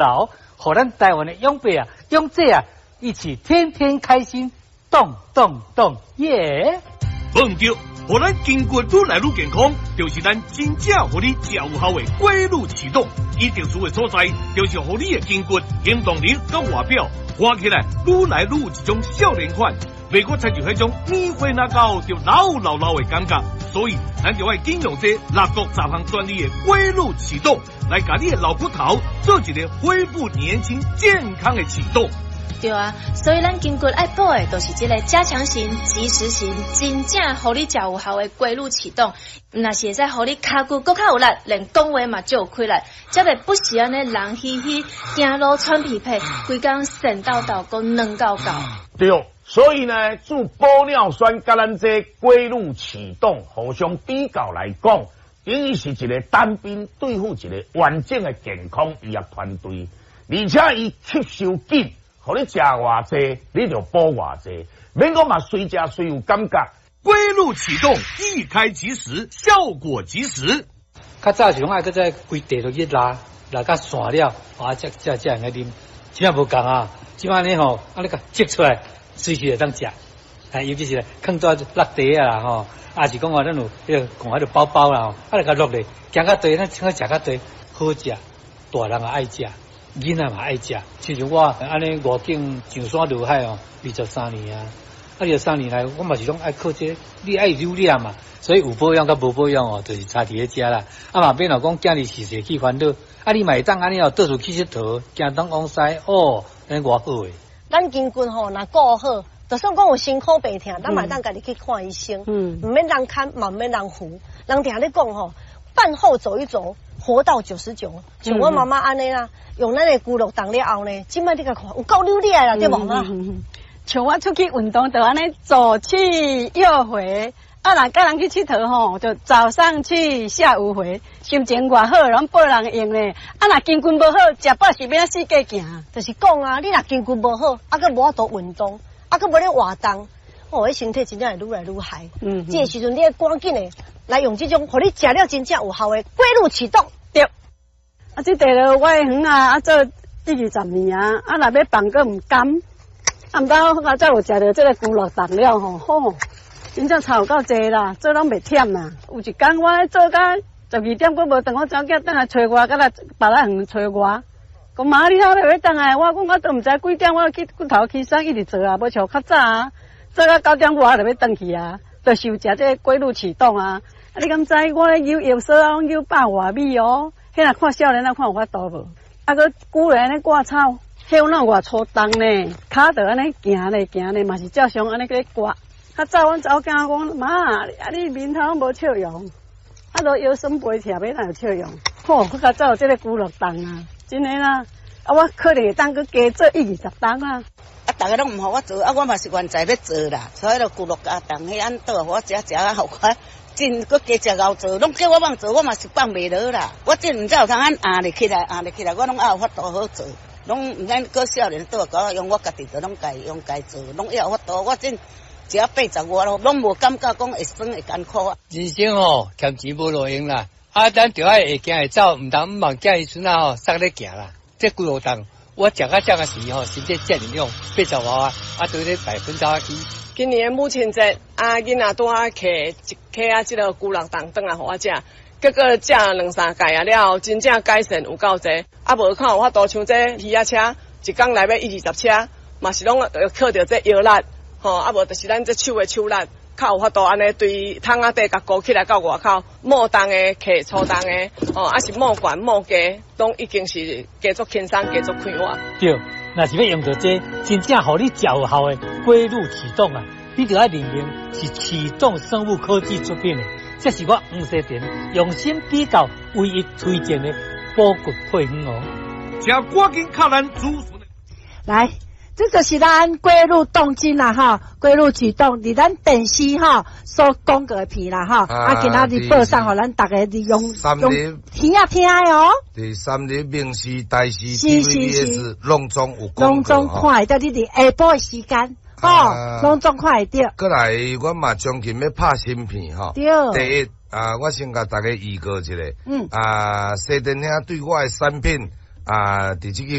勞，予咱台灣的長輩啊、長者啊，一起天天開心，動動動，耶！無毋著，予咱筋骨愈來愈健康，就是咱真正予你食有效的規律啟動。伊特殊的所在，就是予你的筋骨行動力佮外表看起來愈來愈有一種少年款，袂閣親像彼種年歲若到就老老老的感覺。所以，咱就愛緊用這六國雜項專利的規律啟動，來共你的老骨頭做一個恢復年輕健康的啟動。對啊，所以咱筋骨愛補的，就是這个加強型、即時型、真正予你食有效的規律啟動。毋但是會使予你跤骨閣較有力，連講話嘛足有氣力，才袂不時按呢人虛虛，行路喘氣喘，規工跣鬥鬥，閣軟厚厚。對，所以呢，注玻尿酸佮咱這規律啟動互相比較來講，等於是一個單兵對付一個完整的健康醫學團隊，而且伊吸收緊。予你食偌濟，你就補偌濟，免講嘛，隨食隨有感覺。規律啟動，一開即時，效果即時。較早是攏愛閣再規地落去拉，拉甲散了，啊，才才才會用啉。這馬無仝啊，這馬呢吼，按呢共擠出來，隨時會當食。哎，尤其是囥在落地啊啦吼，抑是講話咱有彼个講彼个包包啦吼，啊，來共落咧，行較濟，咱穿食較濟，好食，大人也愛食。囡仔嘛愛食，親像我按呢外景上山落海哦，23年啊，啊23年來，我嘛是攏愛靠這個，你愛留念嘛，所以有保養佮無保養哦，就是差佇咧遮啦。啊嘛免若講囝兒時時去煩惱，啊你嘛會當按呢哦，倒處去𨑨迌，行東往西哦，按呢偌好的。咱筋骨吼，若顧好，就算講有身軀病疼，咱嘛會當家己去看醫生，毋免人牽，嘛毋免人扶。人定咧講吼，飯後走一走，活到99。像我媽媽按呢啦，用咱的龜鹿凍了後呢，這擺你共看有夠溜厲害啦，對無媽？像我出去運動，就按呢左去右回，啊，若佮人去𨑨迌吼，就早上去，下午回，心情偌好，攏報人用咧。啊，若筋骨無好，食飽是欲按怎四界行？就是講啊，你若筋骨無好，啊，閣無法度運動，啊，閣無咧活動，哦，彼身體真正會愈來愈害。這个時陣你愛趕緊的來用這種，予你食了真正有效的規律啟動。對。啊，這塊落我的園啊，啊做一二十年啊，啊若欲放閣毋甘。啊，毋知我才有食著這个龜鹿凍了吼，吼，真正差有夠濟啦，做攏袂忝啦。有一工我做到12點閣無轉，我查某囝轉來揣我，閣來別仔園揣我。講媽，你哪欲轉來？我講我都毋知幾點，我去骨頭起身一直做啊，無像較早啊，做到9點外就欲轉去啊，就是有食這個規律啟動啊。啊，你敢知我咧扭藥索啊，攏扭百外米哦。彼若看少年仔看有法度無？啊，閣久咧按呢割草。彼哪有偌粗重呢？跤就按呢行咧行咧，嘛是照常按呢咧割。較早阮查某囝講，媽，啊你面頭攏無笑容，啊都腰酸背痛，欲按怎有笑容？吼，閣較早有這个龜鹿凍啊，真的啦。啊，我可能會當閣加做一二十冬啊。啊，逐个攏毋予我做，啊，我嘛是願在欲做啦。所以就龜鹿加凍，彼按倒予我食食啊，予我真閣加食𠢕做，攏叫我放做，我嘛是放袂落啦。我真毋知有通按壓咧起來，壓咧起來，我攏猶有法度好做。攏毋免閣少年倒來共我用，我家己就攏家用家做，攏猶有法度。我真食80外咯，攏無感覺講會酸會艱苦啊。人生吼欠錢無路用啦，啊，咱著愛會行會走，毋通毋望囝兒孫仔吼捒咧行啦。這龜鹿凍，我食到這個時吼，身體遮爾勇，80外啊，啊，對咧100%去。今年的母親節，啊，囡仔拄仔摕一克仔這个龜鹿凍轉來予我食。結果食兩三蓋仔了後，真正改善有夠濟。啊，無看有法度像這魚仔車，一工來欲一二十車，嘛是攏靠著這腰力，吼，啊無就是咱這手的手力，較有法度按呢對桶仔底共勾起來到外口，莫重的客粗重的，吼，啊是莫懸莫低，攏已經是加足輕鬆，加足快活。對，若是欲用著這真正予你食有效的規律啟動啊，你著愛認明是啟動生物科技出品的。這是我黃西田用心比較唯一推薦的補骨配方哦。請趕緊敲咱主來，這就是咱規律動靜啦，吼，規律啟動，佇咱電視吼所廣告的片啦，吼，啊，今仔日播送予咱逐家利用用聽啊聽的哦。佇三立、民視、台視、TVBS 攏總有廣告，攏總看會著你佇下晡的時間。哦，攏總看會著。過來，阮嘛將近欲拍新片吼。對。第一啊，我先共大家預告一下。啊，西田兄對我的產品啊，佇這個。